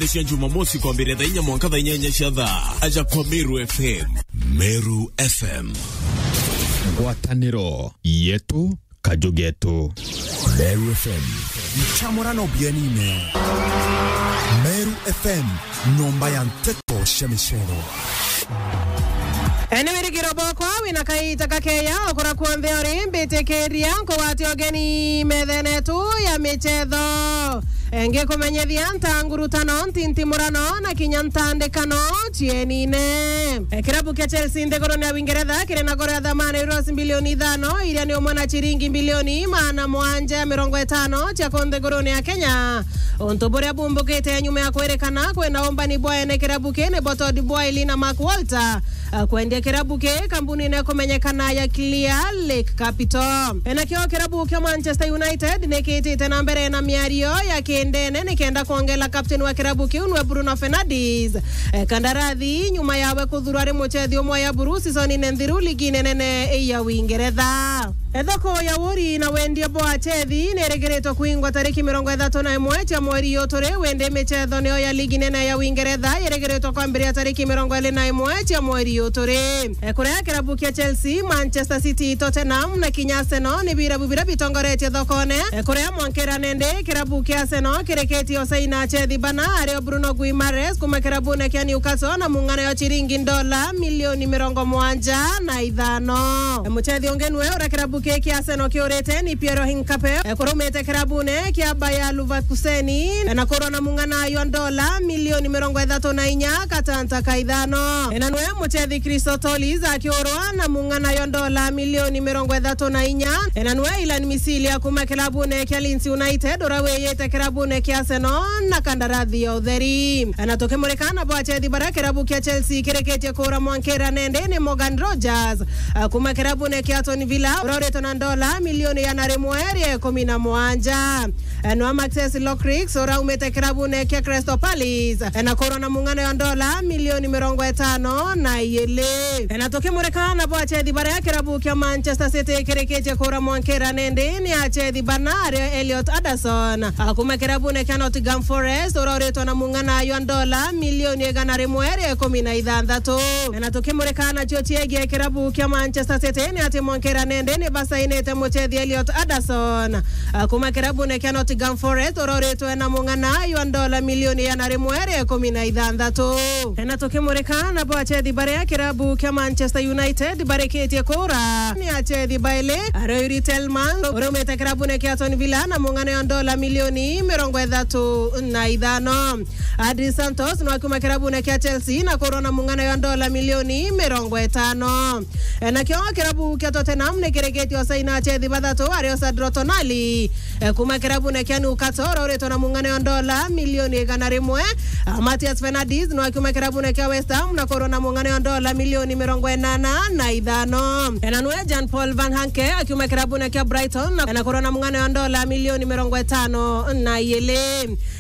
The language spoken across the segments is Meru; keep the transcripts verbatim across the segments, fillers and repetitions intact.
Cia Jumamosi kwambĩrĩria thaa inya mwanka thaa inyanya cia thaa. Aja kwa Meru F M. Meru F M. Ngwatanĩro yetu, kaju getu. Meru F M. Nchamurano bienine. Meru F M, nyomba ya nteto cia micero. Ene wirigiro bwakwa wina kaita kakeya okura kuonthe uri mbitikiria nkugwate ugeni methene tu ya michetho. Ngikumenyithia ntangurutano, ntintimurano na kinya ntandikano cienine. Kirabu kia Chelsea nthigurune ya Uingeretha kiri na goro ya thamani euros mbilioni ithano, iria ni umwe na ciringi mbilioni maana mwanja ya mirongo itano cia ku nthigurune ya Kenya. Untu buria bumbukite nyuma ya kwirikana kwina umbani bwa ene kirabu kii nibo Todd Boehly na Mark Walter, a, kwendia kirabu kii kambunine kumenyekana ya Clear Lake Capital. Enakio kirabu kia Manchester United nikitite na mbere na miario ya kindene nikenda kwongela captain wa kirabu kiu nwe Bruno Fernandes, e, kandarathi nyuma yawe kuthurwa ari muchethi umwe ya buru season-ine nthiru ligi-ine nene ya Uingeretha. Ethoko ya uguri na wendia bwa achethi ni irigiritwe kuingwa tariki mirongo ithatu na imwe cia mweri uyu turi, windi michetho niyo ya ligi nene ya Uingeretha irigiritwe kwambiria tariki mirongo iri na imwe cia mweri uyu turi. E, kuria kirabu kia Chelsea, Manchester City, Tottenham na kinya Arsenal ni birabu biria bitongoretie thokone. E, kuria mwankira nende kirabu kia Arsenal kirikitie usaina achethi bana, ario Bruno Guimaraes kuma kirabune kia Newcastle na mung'ana ya ciringi ndola milioni mirongo mwanja na ithano. Muchethi ungi nwe uria kirabu kii kia Arsenal kiurite ni Pierre-Emerick Nketiah, e, kurumite kirabune kia Bayer Leverkusen, e, na kurwa na mung'ana ywa ndola milioni mirongo ithatu na inya gatanta ka ithano. E, na nwe muchethi Christodoulou akiurwa na mung'ana ywa ndola milioni mirongo ithatu na inya. E, na nwe Ilan Misilia kuma kirabune kia Leeds United uria wiyite kirabune kia Arsenal na kandarathi ya utheri. E, na tukimurika na bwa achethi baria kirabu kia Chelsea kirikitie kura mwankira nende ni Morgan Rogers, a, kuma kirabune kia Aston Villa, uria uritwe na ndola milioni igana rimwe ria ikumi na mwanja. E, nwa Maxence Lockriggs, uria umite kirabune kia Crystal Palace, e, na kurwa na mung'ana ya ndola milioni mirongo itano na ijiri. E, na tukimurika na bwa achethi baria kirabu kia Manchester City kirikitie kura mwankira nende ni achethi bana, ario Elliot Anderson, a, kuma kirabune kia Nottingham Forest, uria uritwe na mung'ana ywa ndola milioni igana rimwe ria ikumi na ithanthatu. Na tukimurika nacio ciegie kirabu kia Manchester City ni ati mwankira nende ni basainite muchethi Elliot Anderson, a, kuma kirabune kia Nottingham Forest, uria uritwe na mung'ana ywa ndola milioni igana rimwe ria ikumi na ithanthatu. Na tukimurika na bo achethi baria kirabu kia Manchester United barikitie kura ni achethi baili, ario Youri Tielemans uria umite kirabune kia Aston Villa na mung'ana ywa ndola milioni mirongo ithatu na ithano. Andrey Santos nwa kuma kirabune kia Chelsea na kurwa na mung'ana ywa ndola milioni mirongo itano. E, nakio kirabu kia Tottenham ni kirikitie usaina achethi bathatu, ario Sandro Tonali, e, kuma kirabune kia Newcastle, uria uritwe na mung'ana ywa ndola milioni igana rimwe. A, Matheus Fernandes nwa kuma kirabune kia West Ham na kurwa na mung'ana ywa ndola milioni mirongo inana na ithano. E, na nwe Jan-Paul Van Hecke akiuma kirabune kia Brighton na, na kurwa na mung'ana ywa ndola milioni mirongo itano na ijiri.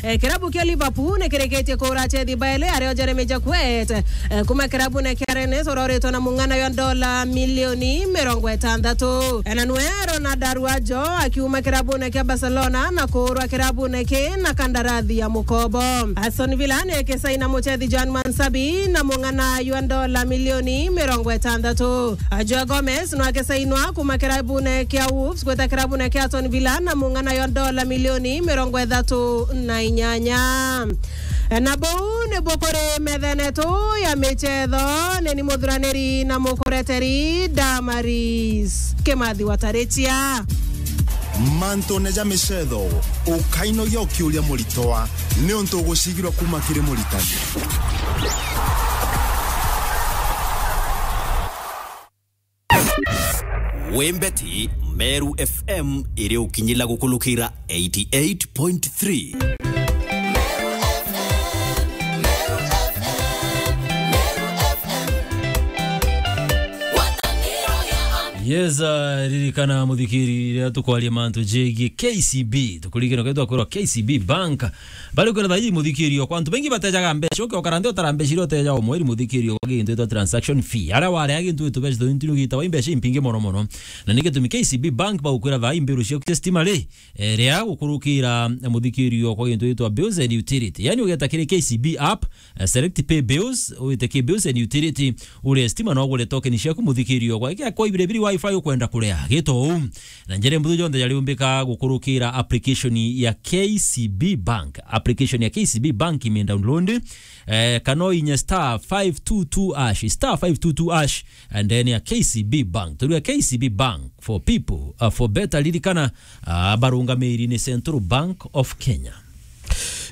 E, kirabu kia Liverpool ni kirikitie kura achethi baili, ario Jeremy Jacquet, e, kuma kirabune kia Rennes, uria uritwe na mung'ana ywa ndola milioni mirongo itantatu. E, na nwe Ronald Araujo akiuma kirabune kia Barcelona na kurwa kirabune ki na kandarathi ya mukobo. Aston Villa ni ikisaina muchethi Johan Munsabbi na mung'ana ywa ndola milioni mirongo itantatu. A, Joao Gomez nwa akisainwa kuma kirabune kia Wolves gwita kirabune kia Aston Villa na mung'ana ywa ndola milioni mirongo ithatu na inyanya. Na buu nibu kuri methene tu ya michetho, ni ni muthuraniri na mukureteri Damaris Kimathi wa Tarichia. Mantune ja michetho, ukainogia ukiuria muritwa, niuntu ugucigirwa kuma kiri muritani. Wembeti, Meru F M iri ukinyila gukulukira eighty eight point three. Eza ririkana, muthikiri, riria tukwaria mantu jegie K C B, tukuririkana ukaitwa kwirwa K C B Bank. Bari kwira thaa ii, muthikiri, okwa antu baingi batejaga mbeca, ukioka nthi utara mbeca iria uteja o mweri, muthikiri, okwa gintu itwa transaction fee. Aria warea gintu itu beca tuntu ni ugita wa mbeca impingi mono mono. Na ni gitumi K C B Bank bagukwira thaa ii mbiru ciaku cia stima ri, eh, ria gukurukira, eh, muthikiri, okwa gintu itwa bills and utility. Yani ugeta kiri K C B app, eh, select pay bills, wite ki bills and utility, ure stima na ugure token ciaku, muthikiri, okwa. Ike kwa ibire biri wifi ukwenda kurea, gito uu. Na njira mbuthu jonthe jari umbika gukurukira application ya K C B Bank. Application ya K C B Bank ime download, eh, kana uinye star five two two hash, star five two two hash, and then ya K C B Bank. Turia K C B Bank for people, uh, for better. Ririkana, uh, barungamiri ni Central Bank of Kenya.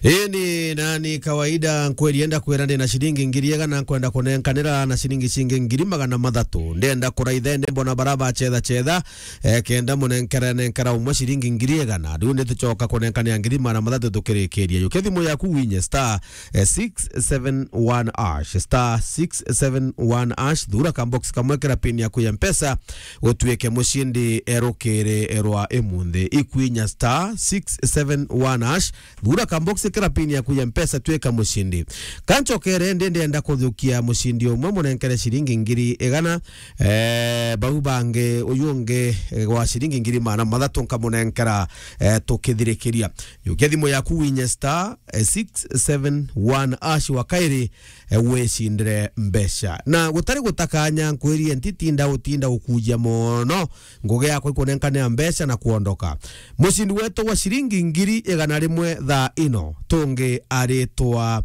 Ini nani kawaida nkweri enda kwira ndi na ciringi ngiri igana nkwenda kunenkanira na ciringi cingi ngiri magana mathatu. Ndenda kuraitha ende mbona bara bacetha cetha, eh, kenda munenkere nenkera umwe ciringi ngiri igana. Riu ni tucoka kunenkanira ngiri magana mathatu tukirikiria. Yukia thimu yaku winye star, eh, six seven one hash, star six seven one hash, thura ka box kamwe kira pin yaku ya Mpesa, utuike mucindi erukiri rwa imunthi. Ikwinya star six seven one hash, thura ka box kira pin yaku ya Mpesa, tuika mucindi. Kancokere ndi ndenda kuthukia mucindi umwe munenkere ciringi ngiri igana, eh, bau bangi uyu ungi, eh, wa ciringi ngiri magana mathatu nkamunenkera, eh, tukithirikiria. Yukia thimu yaku winye star, eh, six seven one hash wa kairi, eh, wicindire mbeca. Na gutari gutakanya, nkwirie ntitinda utinda ukujia mono, ngugi yakwa ikunenkanira mbeca na kuondoka. Mucindi wetu wa ciringi ngiri igana rimwe thaa ino, tungi aritwa,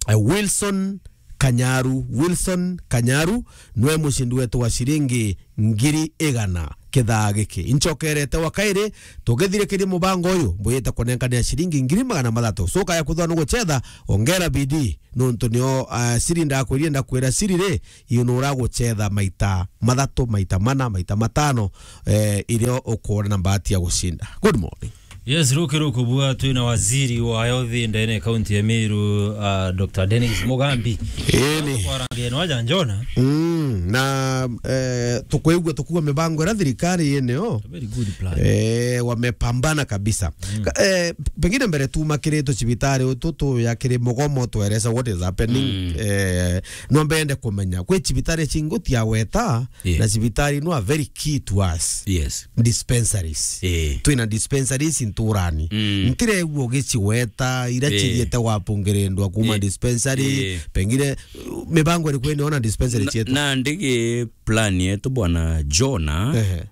eh, Wilson Kanyaru. Wilson Kanyaru nwe mucindi wetu wa ciringi ngiri igana kithaa giki. Incokerete wa kairi, tugithirikirie mubango uyu, mbuyite kunenkanira ciringi ngiri magana mathatu. Coka ya kuthwa nugucetha, ongera bidii, nontu nio, ah, siri ndakwirie, ndakwira siri ri, iyo nuragucetha maita mathatu, maita mana, maita matano, eh, irio ukuona na mbahati ya gucinda. Good morning. Yes, ruki rukubua twina waziri wa health ndene kaunti ya Meru, uh, Doctor Dennis Mugambi. Eni. Kwarangia no aja Njona. Mm, na, eh, tukwigua tukuwa mibango ira thirikari yeneo. A very good plan. Eh, wamepambana kabisa. Mm. Ka-, eh, pengine mbere tuma kiri tucibitari utu tuya kiri mugomo, tueresa what is happening. Mm. Eh, no mbende kumenya. Kwi cibitari cingi tiaweta, yeah, na cibitari no a very key to us. Yes. Dispensaries. Eh. Twina dispensaries nturani. Mm. Ntiregua ugiciweta, ira, eh, cithiete gwapungirindwa kuma, eh, dispensary. Eh. Pengine, uh, mibango iriku iniona dispensary cietu? Na ndigi plan yetu, bwana Jona, ehe,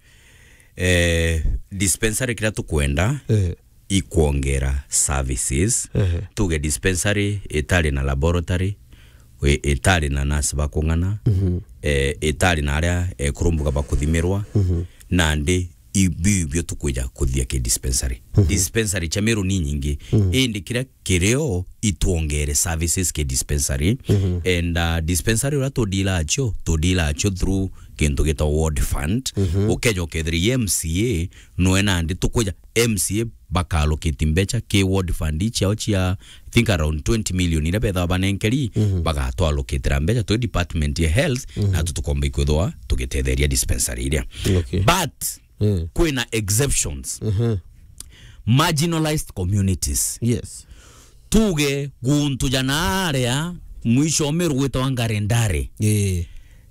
eh, dispensary kiria tukwenda, ehe, ikwongera services. Ehe. Tuge dispensary itari na laboratory, i-, itari na nurse ba kung'ana, mhm, eh, itari na aria, eh, kurumbuka ba kuthimirwa, mhm, nandi i-, biu ibio tukwija kuthia ki dispensary. Mhm. Dispensary cia Meru ni nyingi, mhm, indi kiria kirio itwongere services ki dispensary. Mhm. And, uh, dispensary uria tudila acio, tudila acio through kintu gitwa ward fund. Mhm. Ukeja ukethira i M C A, nwe nandi tukwija M C A baka allocate mbeca ki ward fund ciao cia, I think, around twenty million iria bethawa banenkeri, mhm, bagatwa allocatera mbeca twi department ya health, mhm, na tu tukomba ikwithwa tugitetheria dispensary iria. Okay. But, mm, kwina exceptions. Mhm. Marginalized communities. Yes. Tuge guntu ja naaria mwisho Meru gwitwa Ngarendare. Eh.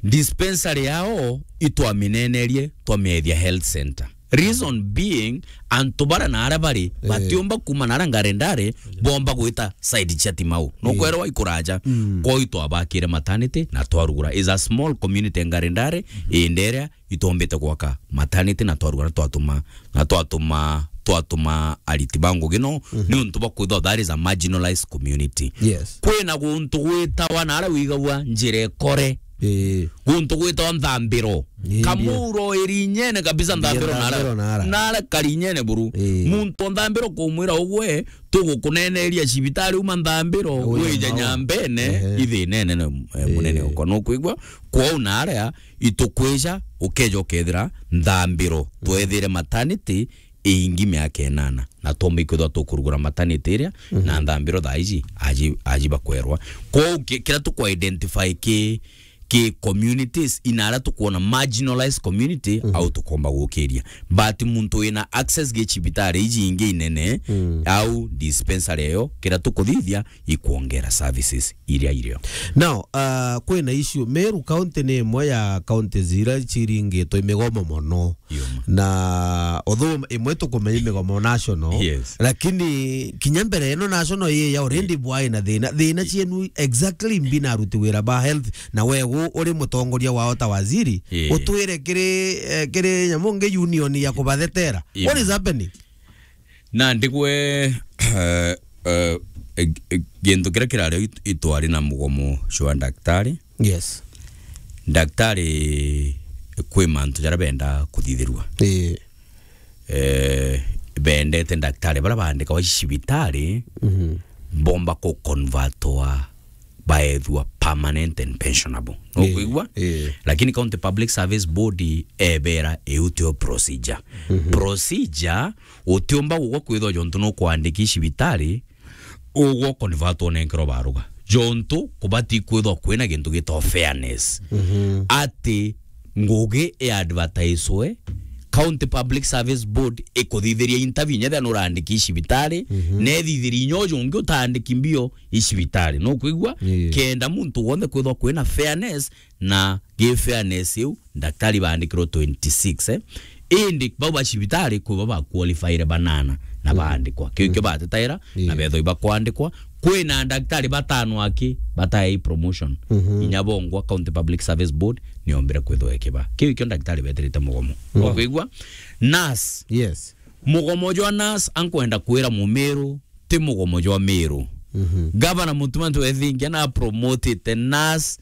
Dispensary yao itwaminenerie, twamiethia health center. Reason being, antu bara naaria bari, eh, batiumba kuma naaria Ngarendare, bomba gwita side cia Timau. No, eh, kwerwa ikuraja. Mm. Kwou itwabakire maternity na twarugura. Is a small community Ngarendare, mhm, indi iria itombite gwaka maternity na twarugura, twatuma, na twatuma, twatuma ariti ba ngugi no, mhm, ni untu bwa kwithwa that is a marginalized community. Yes. Kwina guntu gwitawa naaria wigagua njira ikore. Ii. Guntu gwitawa Nthambiro. Ii, Kamuro iri inyene kabisa, Nthambiro naaria. Nthambiro naaria. Naaria kari inyene buru. Ii. Muntu o Nthambiro kumwira ugwe, tugukuneneria cibitari uma Nthambiro, wije Nyambene, ehe, ithinene, eh, munene okwa. Nukwigua? Kwou naaria itukwija, ukeja ukethira Nthambiro, mm, twethire maternity iingi miaka inana, na twomba ikwithwa tukurugura maternity iria, mhm, na Nthambiro thaa iji aji, aji bakwerwa. Kwou ki-, kiria tukwa identify ki, ki communities, ina aria tukwona marginalized community, au tukomba gukiria. But muntu wina access gi cibitari iji ingi inene, au dispensary iyo, kiria tukuthithia, ikwongera services iria irio. Now, uh, kwina issue, Meru County ni imwe ya counties iria ciringitwe i migomo mono. Yuma. Na although imwe tukumenya i migomo national, yes, lakini kinya mbere ino national ii ya already bwai na thina, thina cienu exactly mbi na aruti wira ba health, na we gu-, uri mutongoria wao ta waziri, yeah, utwire kiri, eh, kiri nyamu ngi union ya kubathetera. Yuma. What is happening? Na ndigwe, eh, eh, eh, gintu kiria kirari it-, itwari na mugomo jwa daktari. Yes. Daktari kwi mantu jaria benda kuthithirua. Ii. Eh, bendete daktari baria baandikagwa cibitari, mhm, bomba ku convertwa baethua permanent and pensionable. Ii. Nukwigua? Ii. Lakini County Public Service Board ebera iu tio procedure. Mhm. Procedure utiumba gugwa kwithwa jontu nukwandiki cibitari, ugwo convert onenkerwa baruga. Jontu kubati kwithwa kwina gintu gitagwa fairness. Mhm. Ati ngugi i advertiswe, County Public Service Board ikuthithiria interview inya thia nurandiki i cibitari, mhm, na ithithiria inya uju ungi utaandiki mbio i cibitari. Nukwigua? Yeah. Kenda muntu wonthe kwithwa kwina fairness, na gi fairness iu, daktari baandikirwe twenty-six, eh. Indi bau ba cibitari kwi bo ba qualifyre banana na baandikwa. Kiu kio batetaira, na bethwa ibakwandikwa. Kwina daktari batano aki bataei promotion. Mhm. Inya bongwa County Public Service Board niombire kwithwa ikiba. Kiu kio daktari beterete mugomo. Wow. Ukwigua? Nurse. Yes. Mugomo jwa nurse ankwenda kwira Mumiru, ti mugomo jwa Miru. Mhm. Gavana Mutuma Ntwethingia na promotete nurse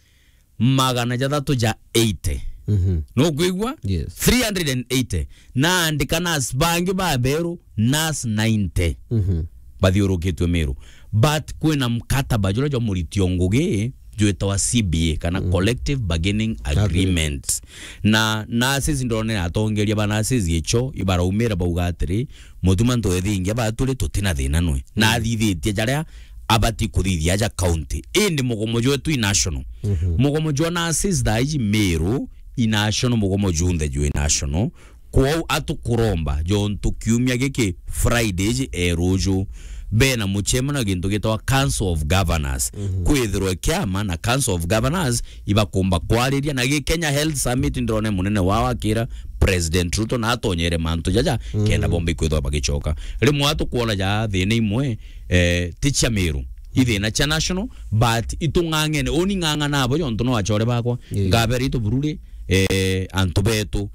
magana jathatu ja eighty. Mhm. Nukwigua? Yes. Three hundred and eighty. Na andika nurse bangi baberu, nurse ninety. Mhm. Bathiurukitue Miru. But kwina mkataba juria jwa muritio ngugi jwitawa C B A, kana Collective Bargaining Agreement. Agreement. Na nurses ndone atongeria ba nurses icho ibaraumira bauga atiri, Mutuma Ntwethingia baturi tutina thina nwe. Na athithitie jaria abati kuthithia aja county. Indi mugomo jwetu i national. Mhm. Mugomo jwa nurses thaa iji Miru i national, mugomo junthe jwi national. Kwou atukuromba jontu kiumia giki Friday iji e ruju, bena muchemano na gintu gitagwa Council of Governors. Mhm. Kwithirwe kiama na Council of Governors ibakumba kwariria na gi Kenya Health Summit, ndirone munene wao akira President Ruto na atonyere mantu jaja, mm, kenda bomba ikwithwa bagicoka. Rimwe atukwona ja thina imwe, eh, ti cia Miru, i thina cia national, but itung'ang'ene. Uni ng'ang'ana abo jontu no achore bakwa, yeah, ngabere itu bururi, eh, antu betu.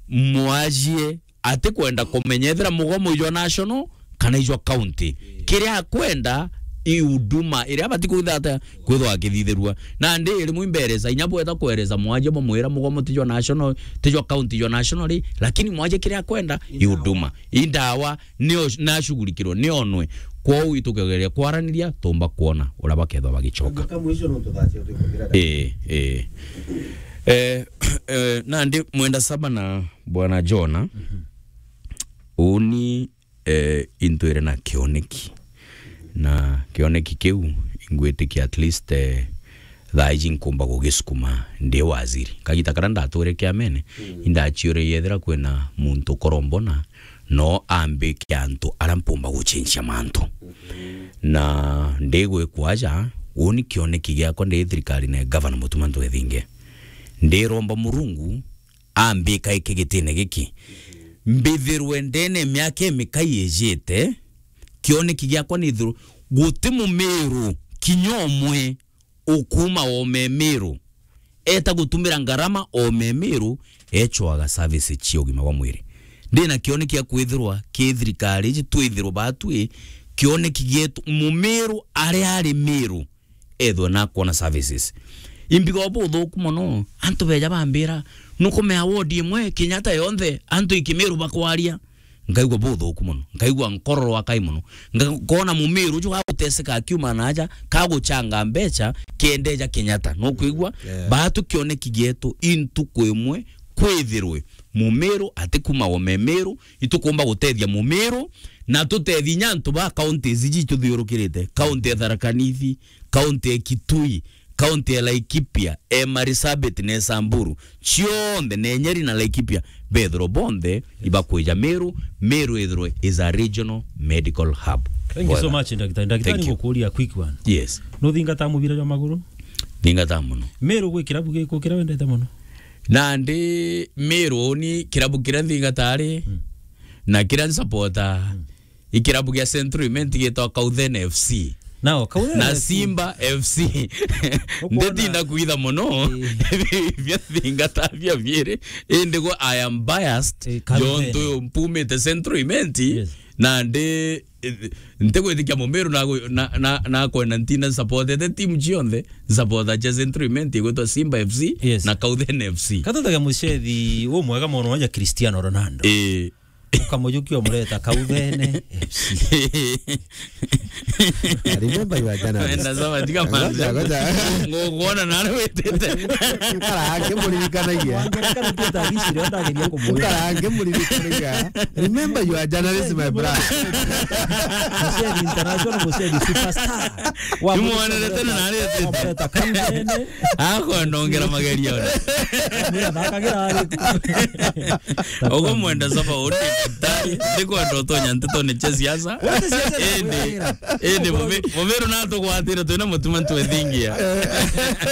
Mwajie atikwenda kumenya ethira mugomo ijwa national kana ijwa county. Kiria akwenda i huduma iria abati kwithata kwithwa akithithirua. Nandi rimwe imberesa, inya bwetha kweresa mwaje bamwira mugomo tijwa national, tijwa county, jwa national ri, lakini mwaje kiria akwenda i huduma. I ndawa nio nashughulikirwe, nionwe. Kwou itukegeria kwaraniria, tumba kwona uria bakethwa bagicoka. Ii, ii. Eh, eh, nandi mwenda saba na Bwana Jona, mhm, uni, eh, intwire na kioneki. Na kioneki kiu, ingwitikia at least, eh, thaa iji nkumba gugisukuma ndi waziri. Kagita karia ndatwire kiamene, mm, indachiuria yethira kwina muntu ukorombona, no ambike antu aria mpumba guchenjia mantu. Mhm. Na ndigwikwa aja, uni kioneki giakwa ndi thirikari na Gavana Mutuma Ntwethinge. Ndiromba Murungu, ambika iki gitine giki. Mbithirwe ndene miaka imikai ijite, kioneki giakwa nithirwe guti mumiru kinya umwe ukuma o memiru eta gutumira ngarama o memiru echwaga service cia ugima bwa mwiri. Ndina kioneki gia kwithirwa ki thirikari iji twithirwe batwi kioneki gietu mumiru aria ari miru ethwe na kwona services. Imbiga buthuku mono, antu beja bambira, nukumea ward imwe, Kenyatta yonthe, antu ikimiru bakwaria. Nkaigua buthuku mono, nkaigua nkororwa kai mono. Nga-, nkona mumiru uju gaguteseka akiuma na aja, kaguchanga mbecha, kiendeja Kenyatta. Nukwigua? Yeah. Batu kioneki gietu, intuku imwe, kwithirwe mumiru atikuma o memiru, itukumba gutethia mumiru, na tutethia inya antu ba counties iji ituthiurukirite, county ya Tharaka Nithi, county ya Kitui, county ya Laikipia, e Marsabit na e Samburu, cionthe, na e Nyeri na Laikipia, bethirwe bonthe ibakwija Meru. Meru ithirwe is a regional medical hub. Thank you so much, Ndagitari. Ndagitari, ngukuria quick one. Yes. Nuthingata mubira jwa maguru? Thingata muno. Meru gwi kirabu gikukira wendete muno? Nandi Meru ni kirabu kiria nthingata ari, na kiria nsupporta, i kirabu gia Central Imenti gitwa Kauthene F C. Nao, Kauthene Na F C. Simba F C. Ukwona? Nditinda kwitha muno. Eh. Bia thingata bia biiri. Indi gwe, I am biased. Eh, Kauthene. Jontu mpumite Central Imenti. Yes. Nandi, eh, ntigwitikia Mumiru na, na, na, nakwenda ntinda nsupportete timu cionthe. Nsupporta cia Central Imenti igwitwa Simba F C. Yes. Na Kauthene F C. Katutaga mucethi umwega mono wa Cristiano Ronaldo. Eh. Ukamujukia umureta Kauthene F C. Remember your journalist. Wenda sawa, tiga manze. Ngoja, ngoja. Ngukuona nari witite. Ukarange muririkanagia. Wangerekana tu ta gicire, ndageria kumwira. Ukarange muririkanagia. Remember your journalist, my brother. Mucethi international, mucethi superstar. Wa Nimwonere tene nari witite. Wamureta Kauthene. Akwenda ongera magerio ona. Mwira thakagira ari. Ugo mwenda saba uri ndagitari, ndikwenda utonya ntetone cia siasa. Wote siasa Indi, indi Mumiru natugwatire twina mutima ntwethingia.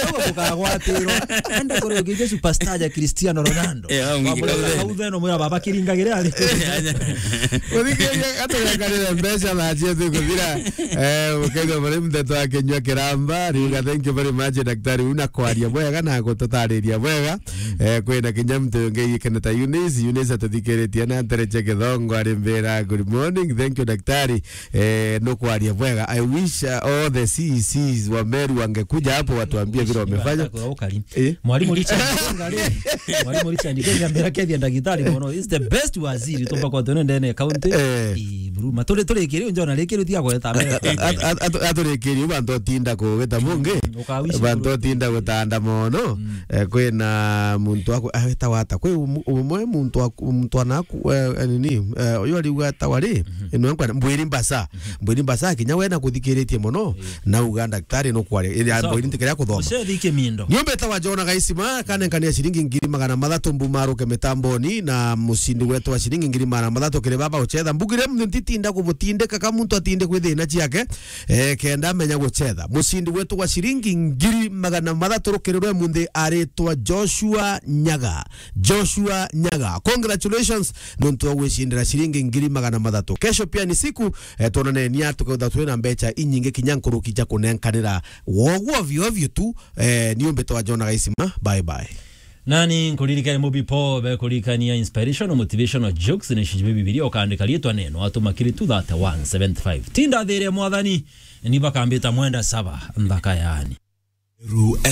Ugo tukagwatirwo. Enda kuri ungi Jesu pastor ja Cristiano Ronaldo. Eh, au ngi Wamwira Kauthene. Kauthene, mwira baba kiringagire ari. Uthikiria gaturekanire mbeca na cia thikuthira. Eh, ukethwa bari mteto akinywa kiramba, riuga thank you very much, daktari, una kwaria bwega na gututariria bwega. Eh, kwina kinya mtu ungi keneta Eunice, Eunice atuthikiritie na ntere cia Githongo, ari mbira, "Good morning, thank you, daktari." Eh, nukwaria bwega. I wish, uh, all the C E Cs wa Meru wangekuja hapo watuambie vile wamefanya. Eh? Mwalimu Richard Ngenga ri. Mwalimu Richard Ngenga mbira kethia ndagitari mono. Is the best waziri tumba kwa tene ndene county. Eh. Ii, Buruma. Turi, turi kiri, njona rikiri tiga gweta mbere. At-, at-, at-, at-, aturikirie bantu otinda kugita bungi. Ukawishi bantu otinda gutanda mono. Mm. Eh, kwina muntu aku-, awetawa ata? Kwi um-, umwe muntu aku-, muntu anaku, eh, eh, nini, eh, uyu ariuga etawa ri? Mhm. Ino nkwa Mbwiri Mbasa. Mhm. Mbwiri Mbasa kinya we nakuthikiritie mono. Eh. Nauga daktari nukwaria. Iri Sawa. Mbwiri ntikiria kuthoma. Ucethi Kimindo. Nyumba etawa Jona Gaisima, kanenkania ciringi ngiri magana mathatu mbumaruke mitamboni, na mucindi wetu wa ciringi ngiri magana mathatu kiri baba uchetha. Mbugire mntitinda kubutindika ka muntu atinde kwithina ciake. Eh, kenda amenya gucetha. Mucindi wetu wa ciringi ngiri magana mathatu rukirirwe munthi aritwa Joshua Nyaga. Joshua Nyaga. Congratulations, nontu wa gwicindira ciringi ngiri magana mathatu. Kesho pia ni siku, eh, twonane nia tukautha twina mbecha inyingi kinya nkuruki cia kunenkanira. Wogu ovyo ovyo tu, eh, ni umbe twa Jona Gaisima. Bye bye. Nani nkuririkania mubi po be kurikania inspirational, motivational jokes ni shiji Bibilia ukandika riitwa neno, atuma kiri two thirty one seventy five. Tinda thiri ya Mwathani, ni bakambita mwenda saba, nthaka yani. Meru F